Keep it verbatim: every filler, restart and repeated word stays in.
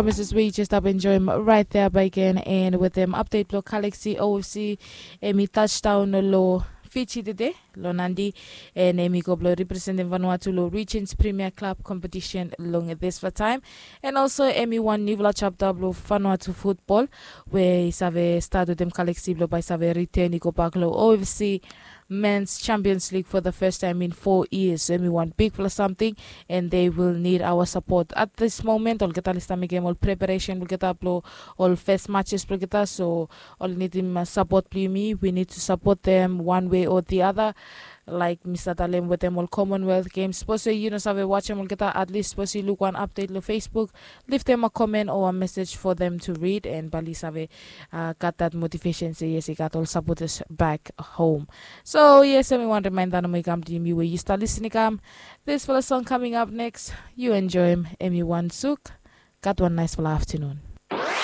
Promises we you just stap enjoim right there by again, and wetem update blong Galaxy O F C, em i touchdown long Fiji tede long Nadi, and em i go blong representim Vanuatu long Regions Premier Club competition long dispela taim. And also em i wan newfala chapter blong Vanuatu football, we i save start wetem Galaxy blong bai save return i go bak long O F C Men's Champions League for the first time in four years. So em i wan bigfala samting, and they will need our support at this moment. Olgeta oli stap mekem ol preparation blong olgeta blong ol first matches blong olgeta, so oli nidim support blong yumi. We need to support them one way or the other. Like mi stap talem wetem ol Commonwealth Games, sapos we yu no save wajem olgeta, at least sapos yu luk wan update long Facebook, leave them a comment or a message for them to read, and bali save uh, gat that motivation se yes, i gat ol supporters back home. So yes, em i wan reminder nomo i kam to yumi we yu stap listening kam. This fala song coming up next, you enjoy him, em i wan suk. Gat wan nice fala afternoon.